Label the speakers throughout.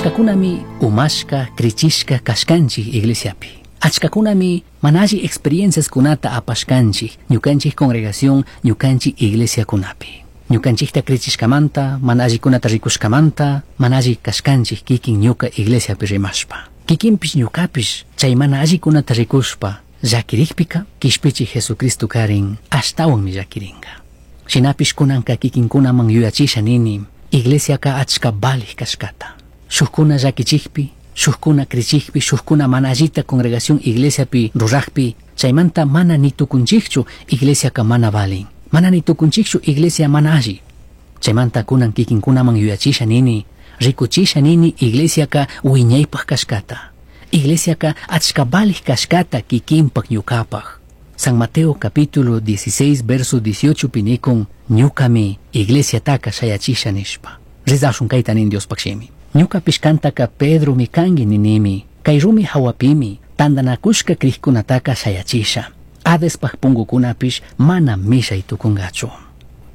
Speaker 1: Achkakunami umashka, krichishka kashkanchik iglesiapi. Achkakunami mana alli experienciaskunata apashkanchik ñukanchik congregación, ñukanchik iglesiakunapi. Ñukanchikta krichishkamanta, mana allikunata rikushkamanta, mana alli kashkanchik kikin ñuka iglesiapi rimashpa. Kikinpish ñukapish chay mana allikunata rikushpa llakirikpika kishpichik Jesucristo karin ashtawanmi llakirinka. Shinapish kunanka kikinkunaman yuyachisha nini, iglesiaka achka valij kashkata. Shukkuna llakichikpi, shukkuna krichikpi, shukkuna mana allita congregación iglesiapi rurajpi, chaymanta mana ni tukunchikchu iglesiaka mana valin. Mana ni tukunchikchu iglesia mana alli. Chaymanta kunan kikinkunaman yuyachisha nini, rikuchisha nini iglesiaka wiñaypaj kashkata. Iglesiaka achka valij kashkata kikinpak ñukapaj. San Mateo capítulo 16 verso 18 pinikun ñukami iglesiataka shayachisha nishpa. Rezashun kayta nin Diospaj shimi. Ñukapish kantaka Pedromi kanki ninimi, kay rumi hawapimi tandanakushka krikkunataka shayachisha. Hadespaj pungukunapish mana mishay tukungachu.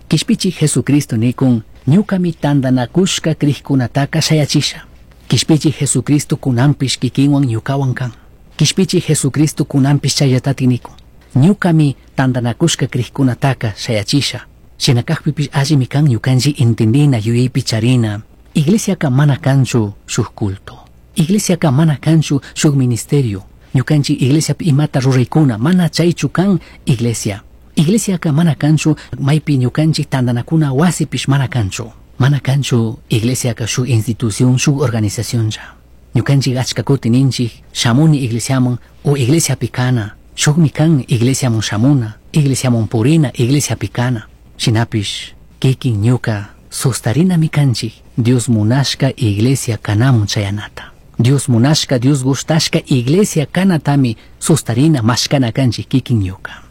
Speaker 1: Kishpichik Jesucristo nikun ñukami tandanakushka krikkunataka shayachisha. Kishpichik Jesucristo kunanpish kikinwan ñukawan kan. Kishpichik Jesucristo kunanpish chayllatatik nikun. Ñukami tandanakushka krikkunataka shayachisha. Shinakajpipish allimi kan ñukanchik entendina yuyaypi charina. Iglesiaka mana kanchu shuk culto. Iglesiaka mana kanchu shuk ministerio. Ñukanchik iglesiapi imata ruraykuna mana chaychu kan iglesia. Iglesiaka mana kanchu maypi ñukanchik tandanakuna wasipish mana kanchu. Mana kanchu iglesiaka shuk institución, shuk organizacionlla. Ñukanchik achka kuti ninchik shamuni iglesiaman o iglesiapi kana. Shukmi kan iglesiaman shamuna, iglesiaman purina, iglesiapi kana. Shinapish kikin ñuka sustarinami kanchik Dios munashka iglesia kanamun chayanata. Dios munashka, Dios gustashka iglesia kanatami sustarina mashkana kanchik kikin ñuka.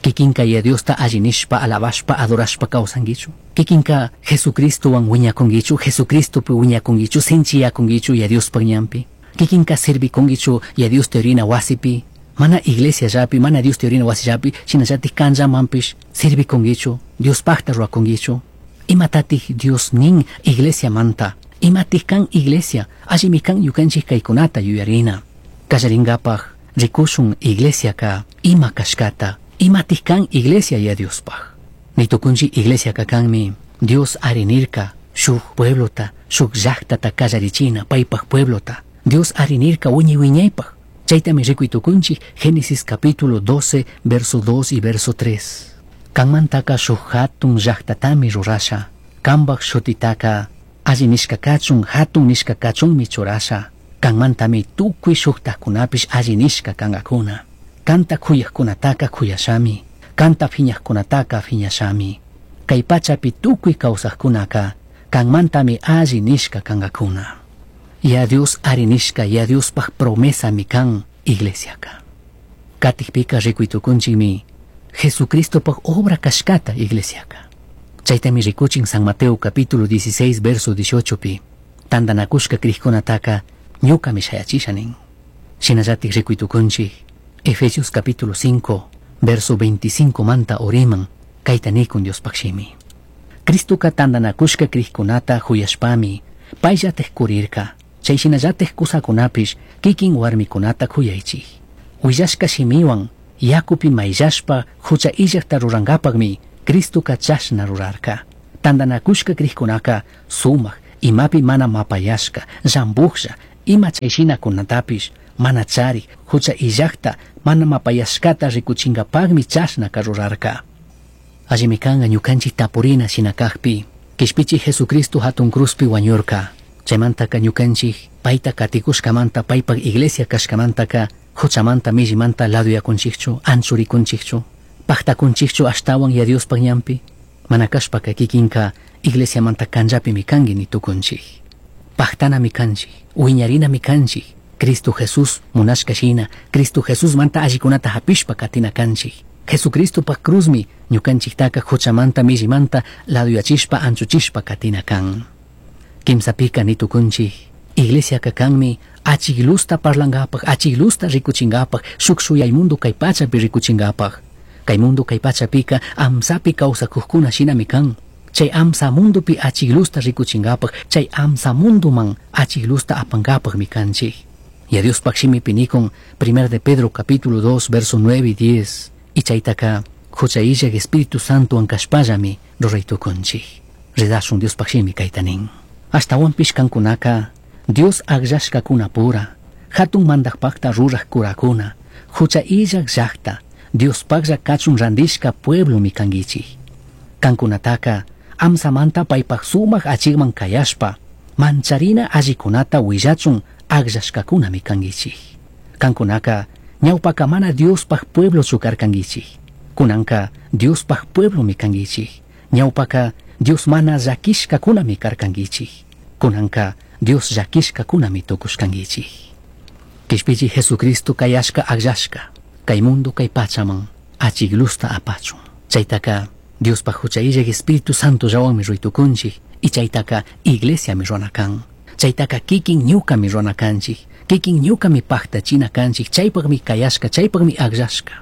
Speaker 1: Kikinka ya Diosta alli nishpa, alabashpa, adorashpa kawsankichu. Kikinka Jesucristowan wiñakunkichu, Jesucristopi wiñakunkichu, sinchiyakunkichu ya Diospaj ñanpi. Kikinka servikunkichu ya Dios teorina wasipi, mana iglesiallapi, mana Dios teorina wasillapi, shinallatik kanllamanpish servikunkichu, Diospajta ruwakunkichu. Imatatik Dios nin iglesiamanta, imatik kan iglesia, allimi kan ñukanchik kaykunata yuyarina. Kallaringapaj rikushun iglesiaka ima kashkata, imatik kan iglesia ya Diospaj. Nitukunchik iglesiaka kanmi Dios arinirka shuk pueblota, shuk llaqtata kallarichina paypaj pueblota. Dios arinirka wiñay wiñaypaj. Chaytami rikuy tukunchik Génesis capítulo 12, verso 2 y verso 3. Kanmantaka shuk hatun llaqtatami rurasha. Kanpaj shutitaka alli nishka kachun, hatun nishka kachunmi churasha. Kanmantami tukuy shuktajkunapish alli nishka kankakuna. Kanta kuyajkunataka kuyashami. Kanta phiñajkunataka phiñashami. Kay pachapi tukuy kawsajkunaka kanmantami alli nishka kankakuna. Ya Dios arinishka, ya Diospaj promesami kan iglesiaka. Katikpika rikuy tukunchikmi Jesucristopaj obra kashkata iglesiaka. Chaytami rikuchin San Mateo capítulo 16 verso 18 pi. Tandanakushka krikkunataka ñukami shayachisha nin. Shinallatik rikuy tukunchik Efesios capítulo 5 verso 25 manta uriman kayta nikun Diospaj shimi. Cristoka tandanakushka krikkunata huyashpami payllatik kurirka. Chay shinallatik kusakunapish kikin warmikunata kuyaychik. Willashka shimiwan yakupi mayllashpa hucha illakta rurankapakmi Cristoka chashna rurarka. Tandanakushka krikkunaka sumak imapi mana mapayashka, llambujlla, ima chay shinakunatapish mana charik, hucha illakta mana mapayashkata rikuchinkapakmi chashnaka rurarka. Allimi kanka ñukanchik tapurina shinakajpi, kishpichik Jesucristo hatun cruzpi wañurka. Chaymantaka ñukanchik payta katikushkamanta, paypak iglesia kashkamantaka huchamanta millimanta laduyakunchikchu, anchurikunchikchu, pajtakunchikchu ashtawan ya Diospaj ñanpi, mana kashpaka kikinka iglesiamanta kanllapimi kanki ni tukunchik. Pajtanami kanchik, wiñarinami kanchik, Cristo Jesús munashka shina, Cristo Jesús manta allikunata hapishpa katina kanchik. Jesucristopaj cruzmi ñukanchiktaka huchamanta millimanta laduyachishpa anchuchishpa katina kan. Kimsapika nitukunchik, iglesiaka kanmi achik luzta parlankapaj, achik luzta rikuchinkapaj, shuk shuyay mundo kay pachapi rikuchinkapaj. Kay mundo kay pachapika amsapi kawsakuqkuna shinami kan. Chay amsa mundupi achiklusta rikuchinkapaq, chay amsa munduman achiklusta apankapaqmi kanchik. Yaya Diospaq shimipi nikun 1 de Pedro capítulo 2 verso 9 y 10. Y chaytaka hucha illak Espíritu Santowan kashpallami ruray tukunchik. Rezashun Diospaq shimi kayta nin. Ashtawanpish kankunaka Dios akllashkakunapura, hatun mandakpakta ruraj kurakuna, hucha illak llakta, Diospaklla kachun randishka pueblomi kankichik. Kankunataka amsamanta paypak sumak achikman kayashpa, mancharina allikunata willachun akllashkakunami kankichik. Kankunaka ñawpaka mana Diospaj pueblochu karkankichik. Kunanka Diospaj pueblomi kankichik. Ñawpaka Dios mana llakishkakunami karkankichik. Kunanka Dios llakishkakunami tukushkankichik. Kishpichik Jesucristo kayashka akllashka, kay mundo kay pachaman achiklusta apachun. Chaytaka Diospaj hucha illak Espíritu Santo llawanmi ruytukunchik y chaytaka iglesiami runa kan. Chaytaka kikin ñukami runa kanchik, kikin ñukami paktachina kanchik, chaypakmi kayashka, chaypakmi akllashka.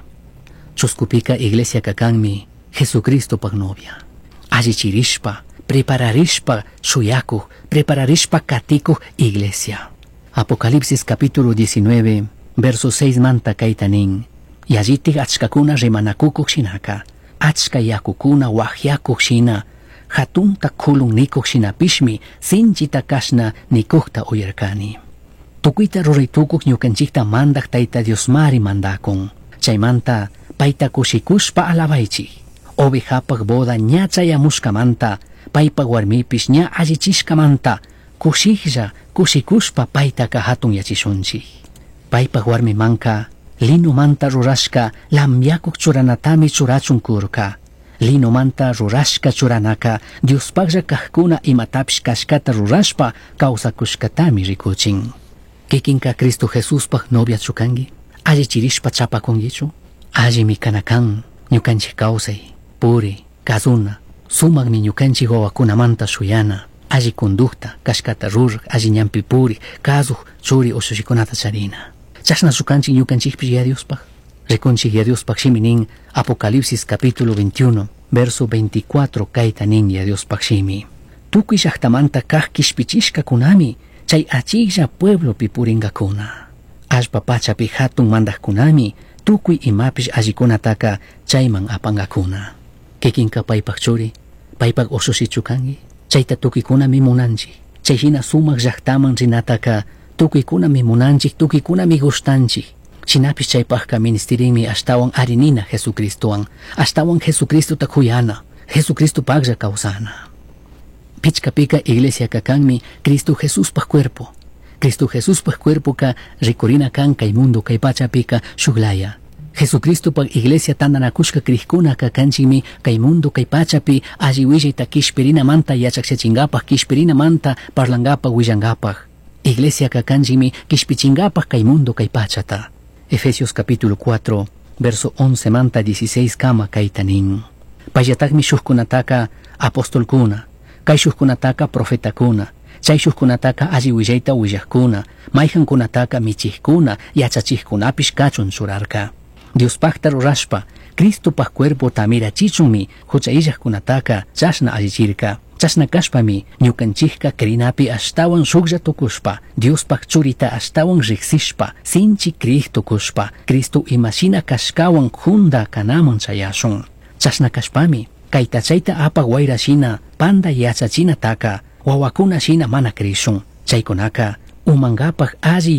Speaker 1: Chuskupika iglesiaka kanmi Jesucristopaj novia. Allichirishpa, prepararishpa shuyakuj, prepararishpa katikuj iglesia. Apocalipsis capítulo 19, verso 6 manta kayta nin. Yallitik achkakuna rimanakukuj shinaka, achka yakukuna wahyakuj shina, hatunta kulun nikuj shinapishmi sinchita kashna nikujta uyarkani. Tukuyta ruray tukuj ñukanchikta mandak Tayta Diosmari mandakun. Chaymanta payta kushikushpa alabaychik. Ovejapaj boda ña chayamushkamanta, paypaj warmipish ña allichishkamanta, kushiklla kushikushpa paytaka hatunyachishunchik. Paypaj warmimanka linomanta rurashka lamyakuq churanatami churachun kurka. Linomanta rurashka churanaka Diospaklla kajkuna imatapish kashkata rurashpa kawsakushkatami rikuchin. Kikinka Cristo Jesuspaj noviachu kanki? Allichirishpa chapakunkichu? Allimi kana kan ñukanchik kawsay, puri, kazuna, sumakmi ñukanchik wawakunamanta shuyana, alli conducta, kashkata ruraj, alli ñanpi puri, kazuj, churi ushushikunata charina. Chashnachu kanchik ñukanchikpish Yaya Diospaj? Rikunchik Yaya Diospaj shimi nin Apocalipsis capítulo 21, verso 24 kayta nin Yaya Diospaj shimi. Tukuy llaktamanta kaj kishpichishkakunami chay achiklla pueblopi purinkakuna. Allpa pachapi hatun mandajkunami tukuy imapish allikunataka chayman apankakuna. Kikinka paypak churi, paypak ushushichu kanki? Chayta tukuykunami munanchik. Chay hina sumak llaktaman rinataka tukuykunami munanchik, tukuykunami gustanchik. Shinapish chaypajka ministirinmi ashtawan arinina Jesucristowan, ashtawan Jesucristota kuyana, Jesucristopaklla kawsana. Pichkapika iglesiaka kanmi Cristo Jesuspaj cuerpo. Cristo Jesuspaj cuerpoka rikurina kan kay mundo kay pachapika shuklaya. Jesucristopaj iglesia tantanakushka krikkunaka kanchikmi kay mundo kay pachapi alli willayta kishpirinamanta yachakchachinkapaj, kishpirinamanta parlankapaj, willankapaj. Iglesiaka kanchikmi kishpichinkapaj kay mundo kay pachata. Efesios capítulo 4, verso 11 manta 16 kama kayta nin. Payllatakmi shukkunataka apostolkuna, kay shukkunataka profetakuna, chay shukkunataka alli willayta willajkuna, mayjankunataka michijkuna, yachachijkunapish kachun churarka. Diospakta rurashpa, Cristopaj cuerpota mirachichunmi hucha illajkunataka chashna allichirka. Chashna kashpami ñukanchikka krinapi ashtawan shuklla tukushpa, Diospaj churita ashtawan riksishpa, sinchi krij tukushpa, Cristo imashina kashkawan junda kanaman chayashun. Chashna kashpami, kayta chayta apak wayra shina, panda yachachinataka, wawakuna shina mana krishun. Chaykunaka umankapaj alli